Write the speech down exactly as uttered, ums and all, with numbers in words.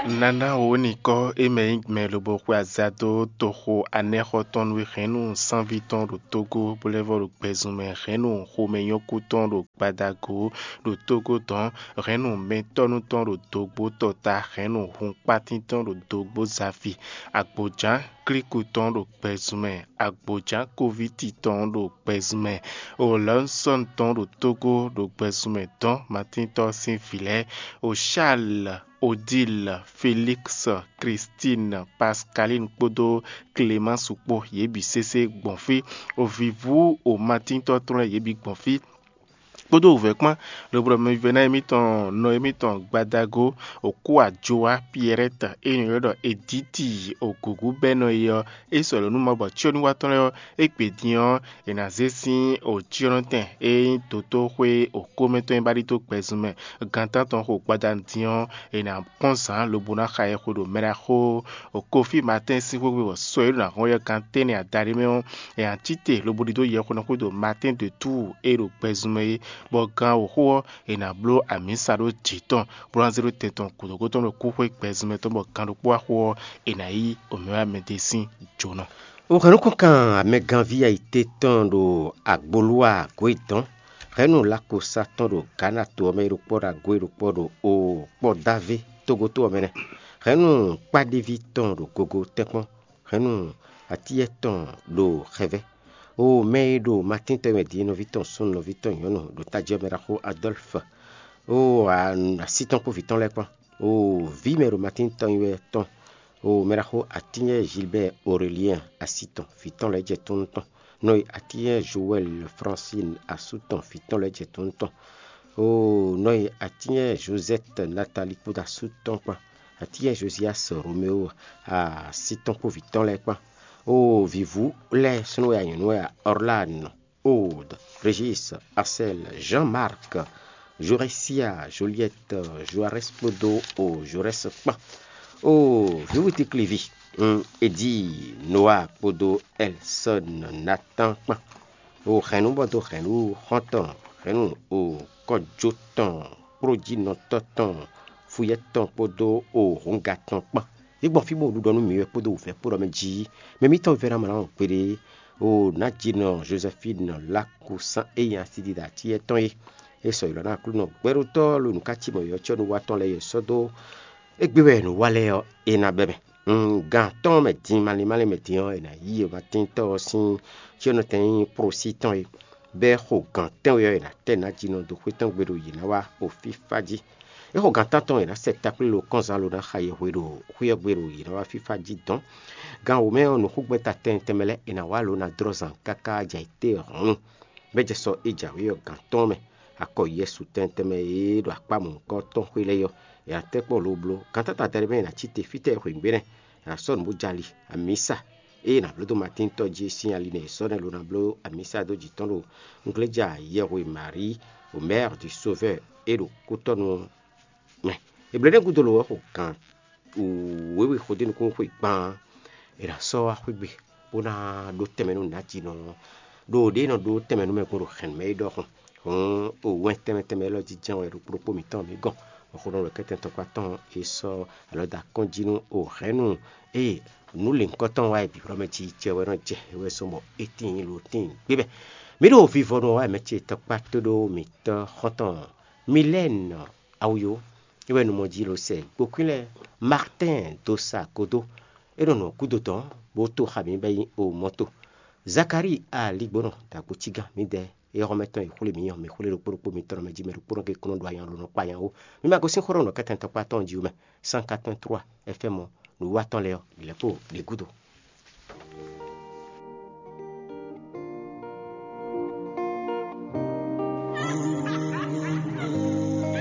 Nana wǒ ní kɔ́ é mɛ nyí mɛ lobo xwe aza dó toxo anɛ́xɔ tɔn nú hɛ̌nnu sánví tɔn ɖo Tógó, bó lɛ́ vɔ ɖo gbɛzun mɛ hɛ̌nnu xomɛnyɔ́kú tɔn ɖo gbadagǒ ɖo Tógó dɔn, hɛ̌nnu mɛtɔ́nu tɔn ɖo dǒgbó tɔta, hɛ̌nnu hunkpátín tɔn ɖo dǒgbó zafi, agbǒján klíku tɔn ɖo gbɛzun mɛ, agbǒján kóvíti tɔn ɖo gbɛzun mɛ, olɔnsɔ́n tɔn ɖo Tógó ɖo gbɛzun mɛ dɔn, Matíntɔ́ sín vǐ lɛ́ɛ, o Charles, Odile, Félix, Christine, Pascaline kpódó Clémence kpó, yě bǐ sésé gbɔn fí. Vǐvú o Matíntɔ́ tɔn lɛ́ɛ, yě bǐ gbɔn fí, kpódó wǔvɛ́ kpán, lobo ɖɔ mɛvívɛ́ná émítɔn, nɔ émítɔn gbadago, Okúajowa Pierrette, e nɔ ylɔ́ ɖɔ Edíti, Ogǔgú bɛ́ nɔ e ɔ́, é sɔ́ lɔ̌ nú Mawu bɔ cyɔ́núwatɔ́ lɛ́ɛ ɔ́, é gbe din ɔ́, è nǎ zé sín òcyɔ́nɔtɛn e nyí dotóxwé okómɛ tɔn e ba ɖi dó gbɛzun mɛ, gan tántɔn xo gbadanu din ɔ́, è nǎ kpɔ́n zǎn lobo ná xa yɛxwe ɖo mɛ ɖaxó Kofí Matɛ́n sín xwé gbe bɔ sɔ e ɖo ná hɔn yɛ gan tɛ́nnɛ adaɖé mɛ ɔ́, è nǎ cí te lobo ɖidó yɛxwe ɔ́ xwedó Matɛ́n de Túu e ɖo gbɛzun mɛ é, bɔ gan wǒxo ɔ́, è nǎ bló amǐsa ɖó jǐ tɔn, bó ná zé ɖó tɛn tɔn gǔdo tɔn ɖo kúxwé gbɛzun mɛ tɔn, bɔ gan ɖokpó wá xo ɔ́, è nǎ yí omɛwámɛdé sín jǒnɔ. O hɛn nukɔn kan amɛganví ayite tɔn ɖo agbolúwa gǒ e dɔn, hɛ̌nnu Lakosa tɔn ɖo Gǎna to ɔ́ mɛ e ɖo kpɔ́ ɖo agó e ɖo kpɔ́ ɖo o kpɔ́ dávé tógótó ɔ́ mɛ nɛ́. Hɛ̌nnu kpáɖéví tɔn ɖo gogo tɛ́nkpɔ́n, hɛ̌nnu atíyɛ́ tɔn ɖo xɛvɛ́. O mɛ e ɖo Matín tɔn mɛ din nɔví tɔn súnnu nɔví tɔn nyɔ̌nu ɖo tají ɔ́ mɛ ɖaxó Adɔ́lfu, o así tɔn kpó vǐ tɔn lɛ́ɛ kpán. O vǐ mɛ ɖo Matín tɔn nyi wɛ tɔn, o mɛ ɖaxó atínyɛ Gilbert Aurélien así tɔn, vǐ tɔn lɛ́ɛ jɛ tɔn nú tɔn. Nɔ e atínyɛ Joël Francine asú tɔn, vǐ tɔn lɛ́ɛ jɛ tɔn nú tɔn. O nɔ e atínyɛ Josette Nathalie kpódó asú tɔn kpán, atínyɛ Josias Roméo así tɔn kpó vǐ tɔn lɛ́ɛ kpán. O vǐvú lɛ́ɛ súnnu wɛ a nyɔ̌nu wɛ a, Orlane, Aude, Régis, Axel, Jean-Marc, Jorésia, Juliette, Joarès kpódó o Jorès kpán. O vǐwutíklíví, un Edi, Noa kpódó Ɛlsɔ́n, Natán kpán. O hɛ̌nnu bɔ dó hɛ̌nnu xɔ́ntɔn, hɛ̌nnu o kɔjó tɔn, kplójínɔtɔ́ tɔn, fuyɛ́ tɔn kpódó o hǔnga tɔn kpán. Yě gbɔn fí bó ɖiɖɔ nú mǐ wɛ kpódó wǔvɛ́ kpó ɖɔ mɛ jí. Mɛ mǐtɔn vɛ́ ná mlɔ́ gbeɖé, o nǎjínɔ Jozɛfínu Lákusán e nyí asidida atíyɛ́ tɔn é. É sɔ́ ylɔ́ ná Aklúnɔ gbɛɖótɔ́ ló nǔkácímɔ yɔ̌cyɔ́núwatɔ́ lɛ́ɛ e sɔ́ dó égbé wɛ nǔ wa lɛ́ɛ ɔ́, é ná bɛ́ mɛ. Gan atɔ́ɔ́n mɛ din malín malín mɛ din ɔ́, è nǎ yí Matíntɔ́ ɔ́ sín cyɔ́nɔtɛn e nyí Prosí tɔn é, bɔ é xo gan tɛ́nwe ɔ́, è nǎ tɛ́ nǎjínɔ dó xwé tɔn gbe ɖo yě ná wá o fífá jí. É xo gan tántɔn è nǎ sɛ takplé lo kɔ́nzán lo ná xa yɛhwe ɖo xwé ɔ́ gbe ɖo yě ná wá fífá jí dɔn. Gan wǒ mɛ ɔ́, nǔxúgbɛ́ta tɛnmɛ tɛnmɛ lɛ́ɛ è nǎ wá lo ná dlɔ́ zan káká jɛ ayǐtéhɔ̌nnu. Bɔ é jɛ sɔ é jǎwe ɔ́ gan tɔn mɛ, akɔ Yɛsu tɛnmɛ tɛnmɛ e ɖo akpá mɔ̌hunkɔ tɔn xwé lɛ́ɛ ɔ́, è nǎ tɛ́ kpɔ́n lo bló. Gan tántɔn adaɖé mɛ è nǎ cí te fítɛ́ e xweyǐgbe nɛ́, è nǎ sɔ́ nǔ bó jɛ ali, amǐsa. Ée è nǎ bló dó Matín tɔ́ jí sín ali nɛ è sɔ́ nɛ́ lo ná bló amǐsa dó jǐ tɔn ɖo ngléja yɛhwe Marí, Omer du Sauveur e ɖo kútɔ́nu ɔ́ mɛ. È blǒ nɛ́ gúdo lo ɔ́ xo gǎn wěwe xo dó nukúnnú xwe gban. È nǎ sɔ́ wá xwé gbe bó ná ɖó tɛnmɛ nú nǎjínɔ ɔ́, ɖo ɖě e nɔ ɖó tɛnmɛ nú mɛ gbɔn ɖo hɛ̌nnu mɛ é ɖɔhun. Hǔn o wɛn tɛnmɛ tɛnmɛ élɔ́ jínjɔ́n wɛ ɖokpó ɖokpó mǐtɔn mǐ gɔn, bɔ xó nɔ ɖo kɛ́tɛn tɔkpá tɔn e sɔ́ alɔ dó akɔ́n jí nú o hɛ̌nnu. Ée nǔ lěhunkɔtɔn wá e bǐblɔ́ mɛ jí jɛ wɛ nɔ jɛ é wɛ zɔ́n bɔ é tíin lo tíin gbé mɛ. Mǐ ɖo vivɔnu wɛ mɛ ce tɔkpá tóɖó mǐtɔn xɔ́ntɔn Milɛ́nu Awuyo é wɛ nu mɔ jí lo sɛ gbokwín lɛ́ɛ Martɛ́n dó sa gúdo. É nɔ nɔ gúdo tɔn bó tó xa mǐ bɔ é nyí o mɔto. Zakalíi aligbónɔ dagbo cígán mǐdɛɛ é xɔ́mɛ tɔn e xwlé mǐ ɔ́, mǐ xwlé ɖokpó ɖokpó mitɔn mɛ jí mɛ ɖokpó nɔ ke kúnɔ ɖo anya lo nɔ kpa nya ó. Mi ma gosín xó ɖɔ nɔ kɛ́tɛn tɔkpá tɔn jí ó mɛ. Cent quatre-vingt-trois F M ɔ́, nǔwiwa tɔn lɛ́ɛ ɔ́, ɖě lɛ́ɛ kpo ɖě gúdo.